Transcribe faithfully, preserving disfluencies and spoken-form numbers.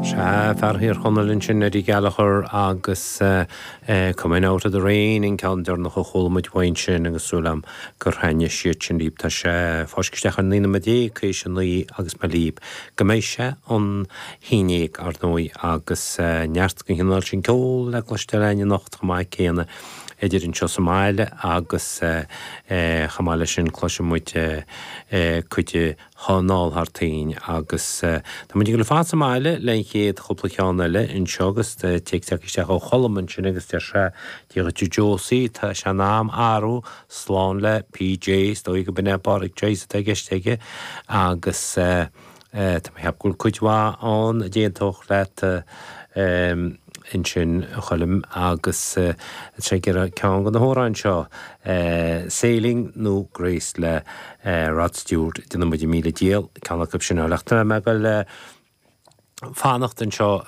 Sea fear Thír Chonaill ansin Eddie Gallagher agus uh, uh, Coming Out of the Rain an ceann deireanach a chuala muid uaidh sin agus súil agam gur thaitnigh siad sin libh tá sé fáisc an naoi nóiméad déag théis a naoi agus mar libh go mbeidh sé an haon déag ar ndóigh agus uh, neart den chineál sin ceol le cloisteáil anocht chomh maith céanna idir anseo sa mbaile agus chomh maith leis sin cloisfidh muid cuid anall thar toinn agus Tá muid le fad sa mbaile le chéad chúpla ceann eile anseo agus téacs isteach ó Cholm ansin agus deir sé Dia dhuit Josie tá sé in am arú slán le PJ stoi go binne Pádraic Joyce atá i gceist aige agus Tá mé ag ceapadh cuid mhaith ann d'aontódh leat ansin Choilm agus sé ceann de na hamhráin seo Sailing nó Grace le Rod Stewart déanfaidh muid míle dícheall ceann acu sin lecht me go le fanacht anseo